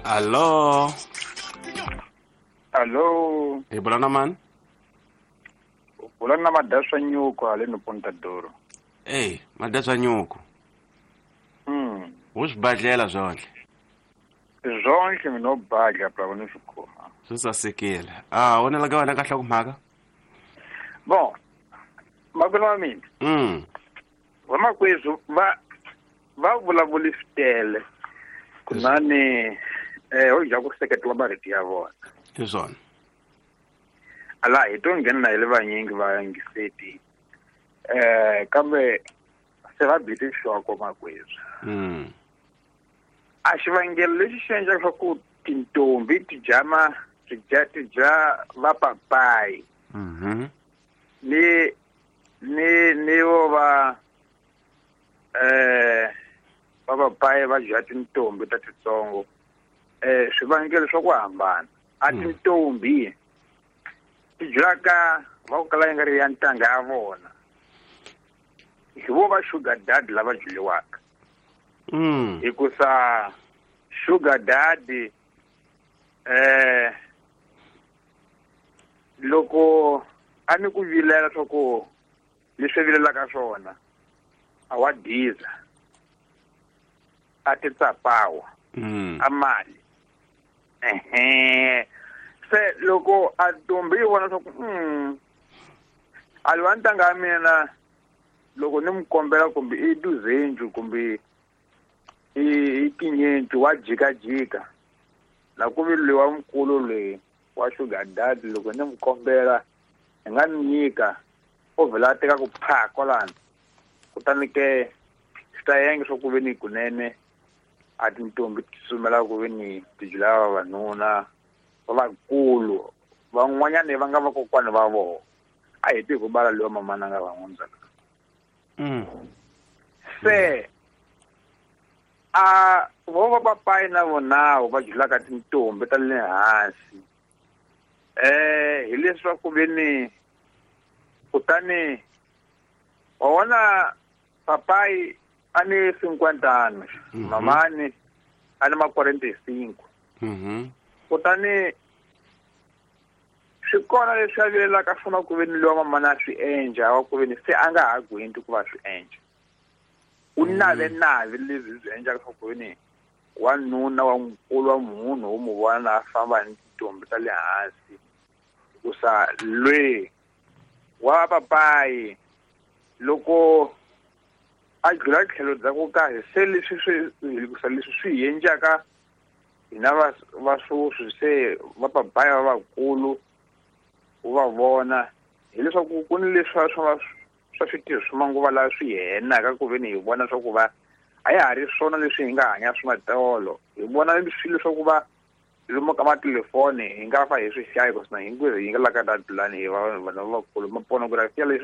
Allo? Allo? Hi bula na mani? U bula na Madaswa Nyuku haleni Pontadoro. Ey, Madaswa Nyuku. Wu swibadlela swonhle? Swonhle mina badla bra ni swi khoma. Swi sasekile. Ah, wona la ka wena ka nhlokomhaka? Bon, makwenu wa mina. Vamakwerhu va vulavuli swi tele. Kunani ho dya ku seketela marito ya vona. Hi swona. Ala hi to nghena na hi le vanyingi va yingiseti. Kambe se va bile nhloko makwerhu. A xivangelo lexi xi endlaka leswaku tintombi ti dya ma ti dya ti dya vapapayi. Ni vo va vapapayi va dya tintombi ta titsongo. Swivangelo swa ku hambana. A tintombi ti dyaka va ku kala yi nga ri ya ntanga ya vona. Hi vo va sugar daddy lava dyiwaka. Hikusa sugar daddy loko a ni ku vilela swa ku leswi vilelaka swona a wa diza a ti tsapawa a mali se loko a ntombi yi vona swa ku a liwa ntanga ya mina loko ni n'wi kombela kumbe i duzendlu kumbe i tinyenti wa jikajika na ku vi loyi wa mukulu loyi wa sugar daddy loko ni n'wi kombela hi nga ni nyika u vhela a teka ku pha kwalano kutani ke swi ta yenga swa ku ve ni kunene a tintombi ti tsutsumela ku ve ni ti dlaya vavanuna va vakulu van'wanyani va nga vakokwani va vona a heti hi ku bala loyi mamana nga va n'wi Se a vo va papayi na vonawo va dlulaka tintombi ta le hansi hi leswaku ve ni kutani wa vona papayi a ni 50 anos mamani a ni ma 45 kutani swi kona leswi a vilelaka swona ku ve ni loyi wa mamana a swi endla wa ku ve ni se a nga ha gwinti ku va swi endla u nave nave leswi swi endlaka swa ku ve ni wanuna wa mukulu wa munhu wo n'wi vona a famba ni tintombi ta le hansi hikusa lwe wa papayi loko a dlula tlhelo bya ku karhi se leswi swi hikusa leswi swi hi endlaka hina va swoswi se va papayi va vakulu u va vona hileswaku ku ni leswi swa switirho swa manguva lawa swi henaka ku ve ni hi vona swa ku va a ya ha ri swona leswi hi nga hanya swi matolo hi vona swilo swa ku va lomu ka matelefoni hi nga fa hi swi hlaya hikuva hinkwerhu hi nga la ka that plan hi va vanhu lavakulu maponografia leswi.